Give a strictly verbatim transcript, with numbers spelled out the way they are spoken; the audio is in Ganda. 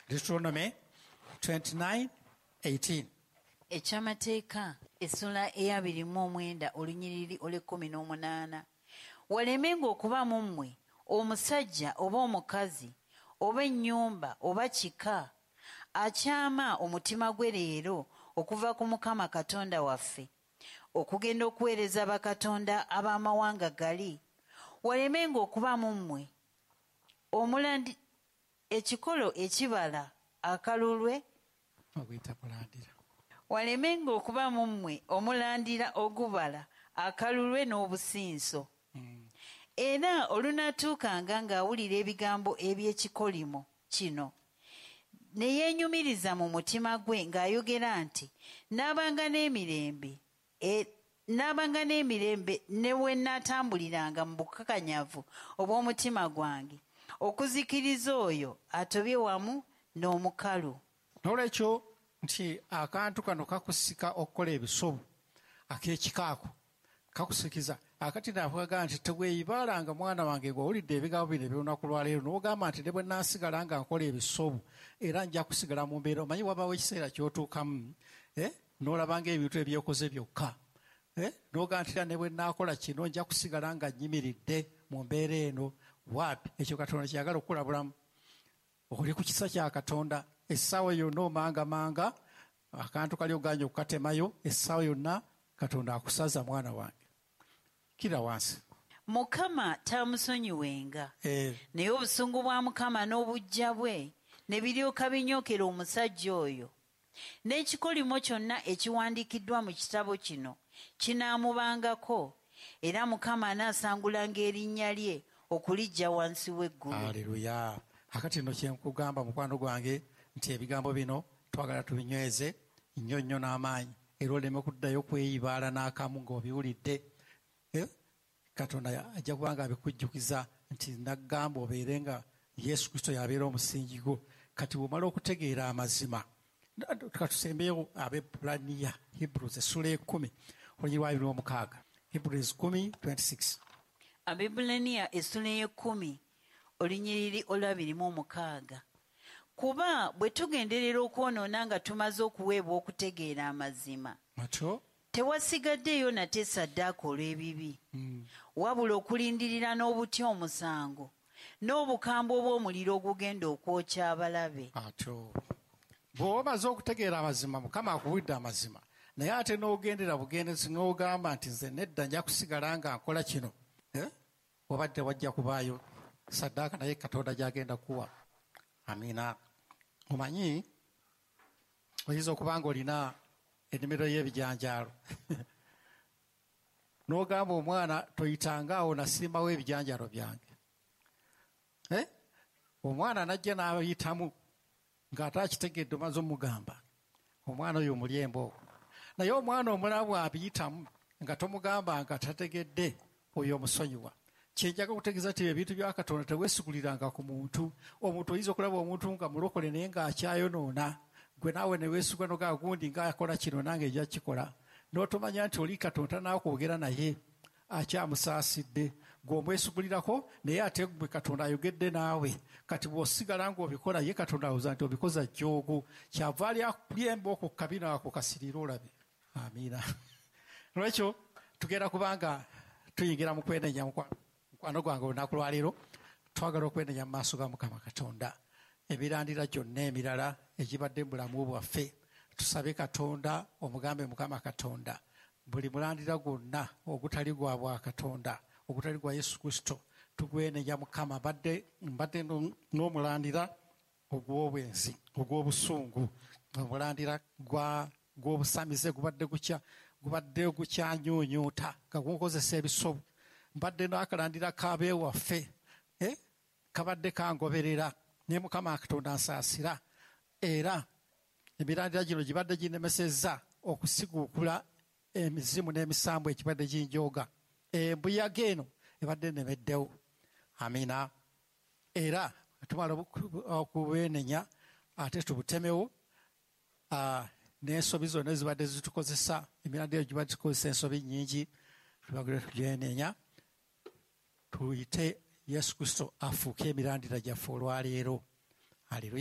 Deuteronomy twenty-nine eighteen. Ekyamateeka essula ey'abiri mu omwenda olunyiriri olw'ekkumi n'omunaana. Walemenga okuba mu mmwe omusajja oba omukazi oba ennyumba oba kika akyama omutima gwe leero okuva ku Mukama Katonda waffe okugenda okuweereza bakatonda ab'amawanga gali. Walemenga okuba mu mmwe omulandi ekikolo ekibala akalulwe oguyita mulandira. Walemenga okuba mu mmwe omulandira ogubala akalulwe n'obusinso. Mm. Era olunaatuukanga ng'awulira ebigambo eby'ekikolimo kino ne yeenyumiriza mu mutima gwe ng'ayogera nti naabanga n'emirembe, e, naabanga n'emirembe ne we nnaatambuliranga mu bukakanyavu obw'omutima gwange okuzikiriza oyo atobye wamu n'omukalu. N'olwekyo nti akantu kano kakusika okukola ebisobu ak'ekikaako kakusikiza. Akati navuga nti teweeyibaalanga mwana wange ng'owulidde ebigambo bino eby'olunaku lwaleero n'ogamba nti ne bwe nnaasigala nga nkola ebisobu era nja kusigala mu mbeera. Omanyi wabaawo ekiseera ky'otuukamu, eh, n'olaba ng'ebintu ebyokoze byokka, eh, n'ogamba nti era ne bwe nnaakola kino nja kusigala nga nnyimiridde mu mbeera eno. Waapi ekyo Katonda kyeyagala okukulabulamu. Oli ku kisa kya Katonda essaawa yonna omangamanga akantu kali ogaanye okukatemayo, essaawa yonna Katonda akusaza mwana wange. Kira wansi. Mukama taamusonyiwenga. Eh. Naye obusungu bwa Mukama n'obuggya bwe ne biryoka binyookera omusajja oyo. N'ekikolimo kyonna ekiwandiikiddwa mu kitabo kino kinaamubangako, era Mukama anaasangulanga erinnya lye okuliggya wansi w'eggulu. Haleluya. Akati nno kye nkugamba mukwano gwange nti ebigambo bino twagala tubinyweze nnyo nnyo n'amaanyi, era oleme kuddayo kweyibaala n'akamu ng'obiwulidde. Eh? Katonda ajja kuba nga abikujjukiza nti nagamba obeere nga Yesu Kristo y'abeera omusingi gwo. Kati bw'omala okutegeera amazima, katusembeyo Abebbulaniya, Hebrews essula ekkumi olunyiriri lwa abiri mu mukaaga. Hebrews kumi twenty-six. Abebbulaniya essula ey'ekkumi olunyiriri olw'abiri mu mukaaga. Kuba bwe tugenderera okwonoona nga tumaze okuweebwa okutegeera amazima, Matyo. tewasigaddeeyo nate ssaddaaka olw'ebibi, Mm. wabula okulindirira n'obutya omusango n'obukambwe obw'omuliro ogugenda okwokya abalabe. Atyo. Bw'oba omaze okutegeera amazima, Mukama akuwulidde amazima, naye ate n'ogendera bugendezi n'ogamba nti nze nedda nja kusigala nga nkola kino, eh? Wabadde wajja kubaayo ssaddaaka naye Katonda gy'agenda kuwa. Amiina. Omanyi oyinza okuba ng'olina ennimiro y'ebijanjaalo n'ogamba omwana toyitanga awo nasimbawo ebijanjaalo byange. Eh? Omwana n'ajja n'ayitamu ng'ate akitegedde omaze omugamba. Omwana oyo omulya embooko. Naye omwana omulala bw'abiyitamu nga tomugamba nga tategedde, oyo omusonyiwa. Kye njagala okutegeeza nti ebintu bya Katonda teweesiguliranga ku muntu. Omuntu oyinza okulaba omuntu nga mulokole naye ng'akyayonoona, gwe naawe ne weesigwa n'ogamba gundi ng'akola kino nange nja kukikola. N'otomanya nti oli Katonda n'akwogera naye akyamusaasidde, gwe omwesigulirako naye ate gwe Katonda ayogedde naawe. Kati bw'osigala ng'obikola ye Katonda alowooza nti obikoza jjoogo, kyava ali akulya embooko ku kabina ako kasirire olabe. Amiina. Olwekyo tugenda kubanga tuyingira mu kwenenya mukwano. Mukwano gwange olunaku lwaleero twagala okwenenya mu maaso ga Mukama Katonda emirandira gyonna emirala egibadde mu bulamu bwaffe. Tusabe Katonda, omugambe Mukama Katonda buli mulandira gwonna ogutali gwa bwa Katonda, ogutali gwa Yesu Kristo, tugwenenya Mukama. Mbadde, mbadde n'omulandira ogw'obwenzi, ogw'obusungu, omulandira gwa, gw'obusamize gubadde gukya, gubadde gukyanyuunyuuta nga gukozesa ebisobu. Mbadde n'akalandira k'abeewaffe, eh, kabadde kangoberera, ne Mukama Katonda nsaasira. Era emirandira gino gibadde ginemesezza okusiguukula emizimu n'emisambu ekibadde ginjooga. Embuyaga eno ebadde enemeddewo. Amiina. Era tumala okubwenenya ate tubutemewo, ah, n'ensobi zonna ezibadde zitukozesa, emirandira gibadde gikozesa ensobi nnyingi, tubagire tugyenenya, tuyite Yesu Kristo afuuke emirandira gyaffe olwaleero. Haleluya.